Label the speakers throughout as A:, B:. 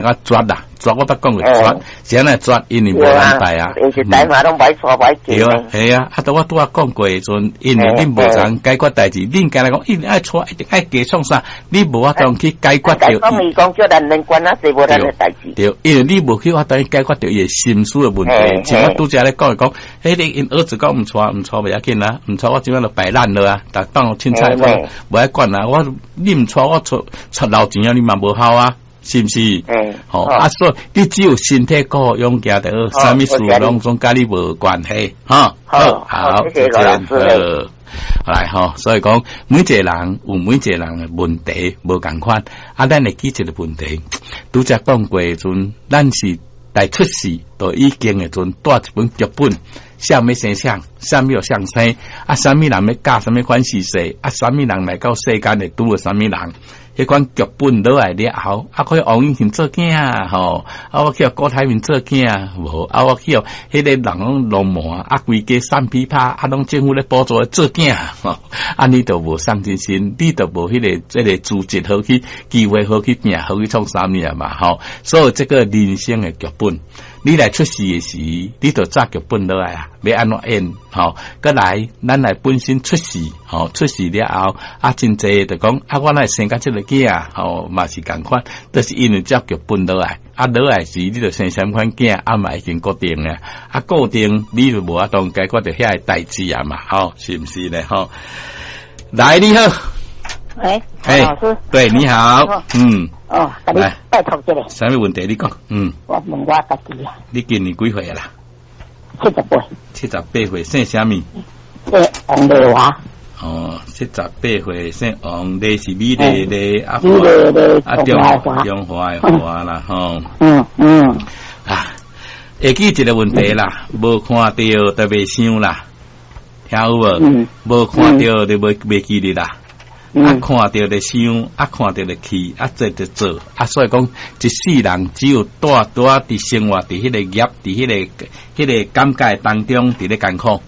A: 較絕啦，絕我捌講過絕，是按怎絕？因為無人拜啊。
B: 因是台馬攏無愛娶，無愛
A: 對啊，係啊，啊，都我拄仔講過的時陣，因為恁無通解決代誌，恁敢若講一定愛娶，一定愛嫁創啥？你無法度去解決著。
B: 講伊講叫咱免管啊，濟無咱的代誌。
A: 對，因為你無去法度解決著伊的心思的問題。像我拄才咧講講，彼個𪜶兒子講毋娶，毋娶袂要緊啊，毋娶我這擺就擺爛了啊，但當凊彩無愛管啊，我你毋娶我娶娶留錢啊，你嘛無效啊。是毋是？吼啊！所以你只有身體顧好勇健就好，啥物事攏總佮你無關係，哈。
B: 好，好，謝謝老師。
A: 來吼，所以講每一個人有每一個人的問題無仝款，啊，咱會記一個問題，拄才講過的時陣，咱是來出世就已經的時陣帶一本劇本，啥物生啥，啥物相生，啊，啥物人欲嫁啥物款勢勢，啊，啥物人來到世間會拄著啥物人。彼款劇本落來了後，啊，可以王永慶做囝吼，啊，我去予郭台銘做囝，無，啊，我去予彼個人攏浪漫，啊，規家散琵琶，啊，攏政府咧補助做囝，吼，啊，你就無上進心，你就無彼個這個資質好去機會好去拼，好去創啥物啊嘛，吼，所以這個人生的劇本，你來出世的時，你就早劇本落來啊，欲按怎演，吼，閣來，咱來本身出世，吼，出世了後，啊，真濟就講，啊，我哪會生甲這個囝，吼，嘛是仝款，就是因為照劇本落來，啊，落來時你就生啥物款囝，啊嘛已經固定啊，啊，固定你就無法度解決著遐個代誌啊嘛，吼，是毋是呢？吼，來，你好，
C: 喂，老師，
A: 對，你好，嗯，
C: 哦，共你拜託一下，
A: 啥物問題？你講，嗯，
C: 我問我家己啊，
A: 你今年幾歲啦？
C: 78。
A: 78歲，姓啥物？
C: 姓王麗華。
A: 哦，78歲，姓王，麗是美麗麗，
C: 啊，美麗麗，
A: 啊，中華的華啦，吼。啊，會記一個問題啦，無看著就袂想啦，聽有無？無看著就袂記得啦。啊，看著就想，啊，看著就去，啊，做就做，啊，所以講一世人只有帶拄仔佇生活佇彼個業，佇彼個感覺當中，佇咧艱苦。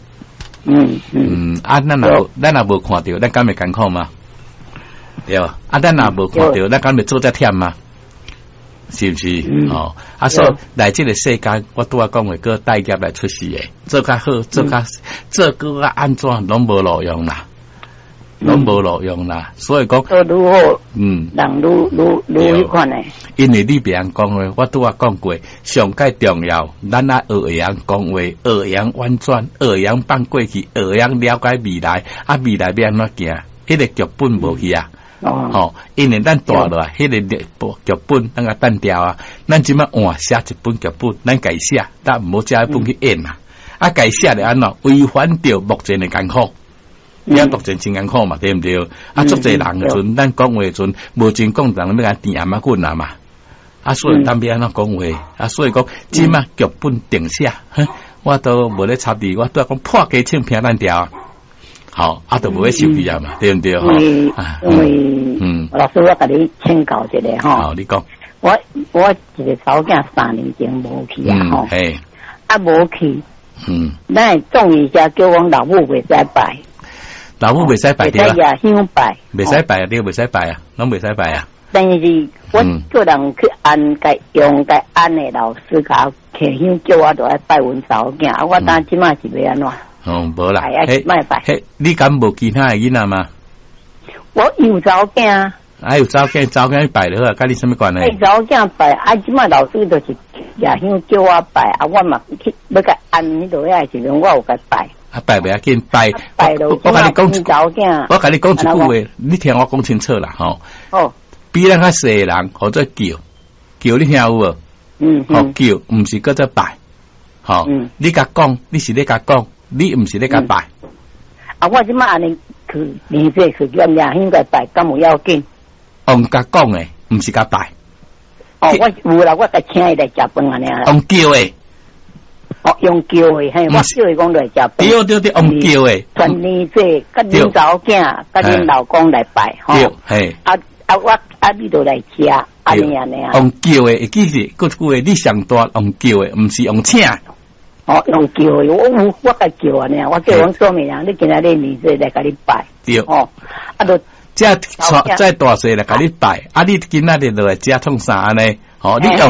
A: 啊，咱若無看著，咱敢會艱苦嗎？對，啊，咱若無看著，咱敢會做遮忝嗎？是毋是？哦，啊，所以來這個世間，我拄仔講過，閣帶業來出世的，做較好，做較做閣較按怎，攏無路用啦。攏無路用啦，所以講，
C: 做愈好，人愈愈愈彼款的。
A: 因為你袂曉講話，我拄仔講過，上蓋重要，咱愛學會曉講話，學會曉婉轉，學會曉放過去，學會曉了解未來，啊，未來欲按怎行，彼個劇本無去啊，吼，因為咱帶落來，彼個劇本咱共擲掉啊，咱這擺換寫一本劇本，咱家寫，但毋好借彼本去演啊，啊，家寫著按怎違反著目前的艱苦。你目前真艱苦嘛，對毋對？啊，足濟人的時陣，咱講話的時陣，無真講人欲共甜頷仔棍啊嘛。啊，所以咱欲按怎講話？啊，所以講，這擺劇本定寫，我都無咧插你，我拄仔講破雞槍平咱掉，好，啊，都無咧受氣啊嘛，對毋對？
C: 因為，因為，老師，我共你請教一下吼。
A: 好，你講。
C: 我一個查某囝3年前無去啊，吼。啊，無去。咱總醫者叫阮老母袂使拜。
A: 老母袂使拜對啊，
C: 香拜，
A: 袂使拜啊，對，袂使拜啊，攏袂使拜啊。
C: 但是我叫人去按，共用共按的老師共我提香，叫我著愛拜阮查某囝。啊，我當這擺是欲按怎？
A: 哦，無啦，
C: 莫拜。
A: 彼，你敢無其他的囡仔嗎？
C: 我有查某囝。
A: 啊，有查某囝，查某囝拜就好啊，佮你啥物關係？
C: 查某囝拜，啊，這擺老師就是舉香叫我拜，啊，我嘛去欲共按彼落遐時陣，我有共拜。
A: 啊，拜袂要緊，拜。我共你講，我共你講一句話，你聽我講清楚啦，吼。
C: 哦。
A: 比咱較細的人，號做叫，叫你聽有無？
C: 嗯。
A: 號叫，毋是叫做拜，吼。你共講，你是咧共講，你毋是咧共拜。
C: 啊，我這擺按呢去年歲去舉香共拜，敢有要緊？
A: 用共講的，毋是共拜。
C: 哦，我有啦，我共請伊來食飯按呢啦。
A: 用叫的。
C: 哦，用叫的，嘿，我叫伊講來食飯。
A: 對對對，用叫的。
C: 傳年歲，佮恁查某囝，佮恁老公來拜，吼。
A: 對，嘿。
C: 啊啊，我啊，你就來食，按呢按呢啊。
A: 用叫的，會記是，閣一句話，你上大用叫的，毋是用請。
C: 哦，用叫的，我有，我共叫按呢，我叫阮說明人，你今仔日年歲來共你拜。
A: 對。
C: 哦，啊，就
A: 這再大細來共你拜，啊，你今仔日落來食創啥按呢？吼，你用